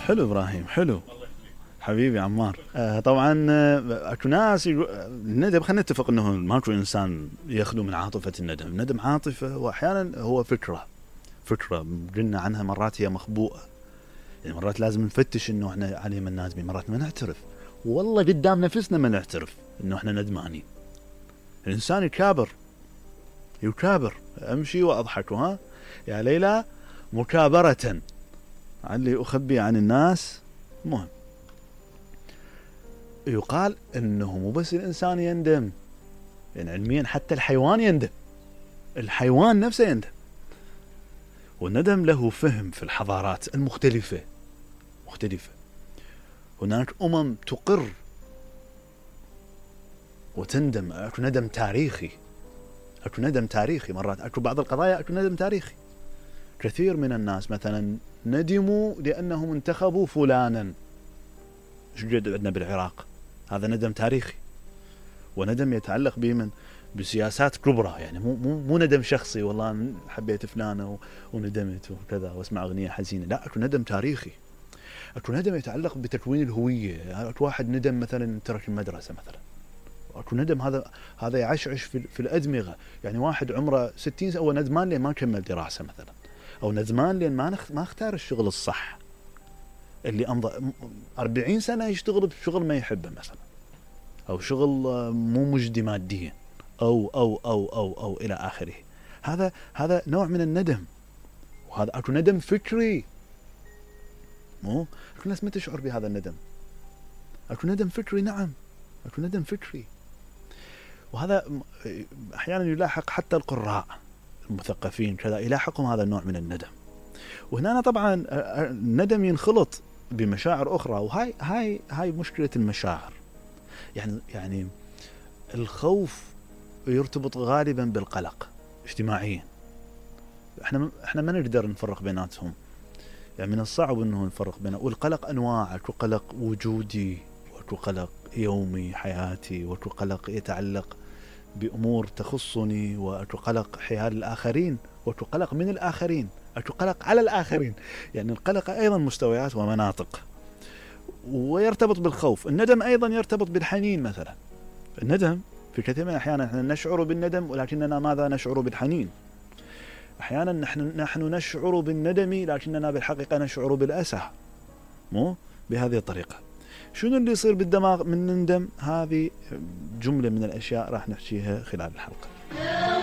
حلو ابراهيم، حلو حبيبي عمار. طبعا اكو ناس الندم، خلينا نتفق انه ماكو انسان يخلو من عاطفه الندم. الندم عاطفه، واحيانا هو فكره قلنا عنها مرات هي مخبوءه، يعني مرات لازم نفتش انه احنا عليه من نادمين، مرات ما نعترف، والله قدام نفسنا ما نعترف انه احنا ندمانين. الانسان يكابر امشي واضحك ها يا ليلى مكابرة علي اخبي عن الناس. مهم يقال انه مو بس الانسان يندم، يعني علميا حتى الحيوان يندم، الحيوان نفسه يندم. والندم له فهم في الحضارات المختلفة. هناك تقر وتندم. اكو ندم تاريخي، مرات اكو بعض القضايا اكو ندم تاريخي. كثير من الناس مثلا ندموا لانهم انتخبوا فلانا، ايش قد عندنا بالعراق، هذا ندم تاريخي، وندم يتعلق بمن؟ بسياسات كبرى، يعني مو ندم شخصي والله حبيت فلانه وندمت وكذا واسمع اغنيه حزينه، لا، اكو ندم تاريخي، اكو ندم يتعلق بتكوين الهويه. اكو واحد ندم مثلا ترك المدرسه مثلا، اكو ندم هذا يعشعش في الادمغه. يعني واحد عمره 60 سنه هو ندمان لين ما كمل دراسه مثلا، او ندمان لين ما اختار الشغل الصح، اللي امضى 40 سنه يشتغل بشغل ما يحبه مثلا، او شغل مو مجدي ماديا، او الى اخره. هذا نوع من الندم، وهذا اكو ندم فكري. مو اكو ناس ما تشعر بهذا الندم، اكو ندم فكري، نعم اكو ندم فكري. وهذا احيانا يلاحق حتى القراء المثقفين كذا، يلاحقهم هذا النوع من الندم. وهنا طبعا الندم ينخلط بمشاعر اخرى، وهاي مشكله المشاعر. يعني الخوف يرتبط غالبا بالقلق اجتماعيا. احنا ما نقدر نفرق بيناتهم، يعني من الصعب انه نفرق بينه. والقلق انواع، اكو قلق وجودي، واكو قلق يومي حياتي، واكو قلق يتعلق بامور تخصني، واكو قلق حيال الاخرين، واكو قلق من الاخرين، اكو قلق على الاخرين. يعني القلق ايضا مستويات ومناطق، ويرتبط بالخوف. الندم ايضا يرتبط بالحنين مثلا. الندم في كثير من الأحيان احنا نشعر بالندم، ولكننا ماذا نشعر بالحنين. أحيانا نحن نشعر بالندم لكننا بالحقيقة نشعر بالأسى، مو بهذه الطريقة. شنو اللي يصير بالدماغ من نندم؟ هذه جملة من الأشياء راح نحكيها خلال الحلقة.